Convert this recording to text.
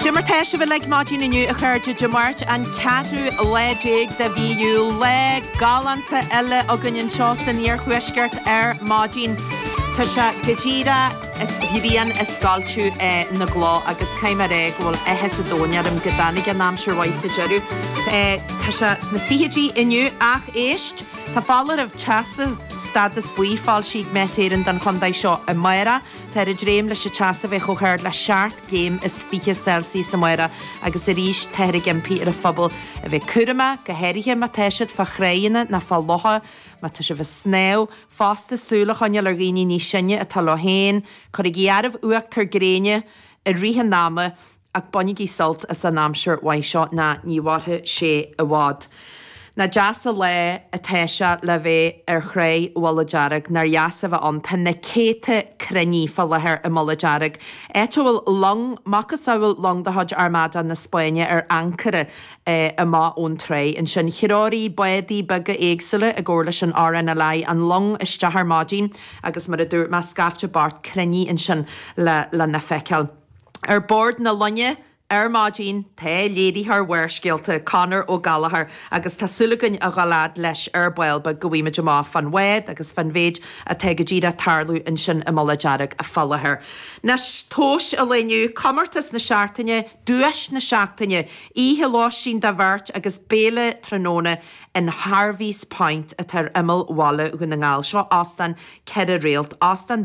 Dé mar tá sibh uilig maidin inniu a chairde, Dé Máirt an ceathrú lá déag de mhí Iúil, lá galánta eile againn anseo san iarthuaisceart ar maidin. Tá sé go díreach is grian ag scoilteadh na gcloch agus caithfidh mé a rá go bhfuil áthas an domhain orm go dtáinig an aimsir mhaith sa deireadh. Tá sé sna fichidí inniu ach éist, tá foláireamh teasa stádas buí foilsithe ag Met Éireann don chontae seo amárach. Táthar ag dréim leis an teas a bheith chomh hard le 27 gcéim Celsius amárach agus arís táthar ag impí ar an phobal a bheith cúramach, go háirithe má tá siad fá chrainn nó fá locha, má tá sibh ag snámh. Fosta, súil a choinneáil ar dhaoine níos sine atá leo féin, cuirigí áireamh uachtar gréine i rith an ama Ach bainigí sult as an aimsir mhaith seo ná ní mhairfidh sé i bhfad. Nach deas an lá atá sé le bheith ar Thráigh Mhullach Dearg, nár dheas a bheith ann. Tá na céadta cruinnithe fá láthair i Mullach Dearg, áit a bhfuil long, macasamhail long de chuid Armada na Spáinne ar ancaire amach ón tráigh ansin. Threoraigh bádaí beaga éagsúla i gcomhar leis an RNLI an long isteach ar maidin agus mar a dúirt mé, scaifte bocht cruinnithe ansin lena feiceáil. Ar bord na loinge ar maidin tá léiritheoir Bharrscéalta, Conor Ó Gallchóir, agus tá súil againn a dhul fhad leis ar ball beag go bhfaighimid amach fán bhád agus fán mhéid atá go díreach ag tarlú ansin i Mullach Dearg fá láthair. Anois, tomhais an lae inniu, comórtas na seachtaine, duais na seachtaine, oíche lóistín do bheirt agus béile tráthnóna in Harvey's Point atá ar imeall bhaile Dhún na nGall. Seo óstán 4 réalt, óstán.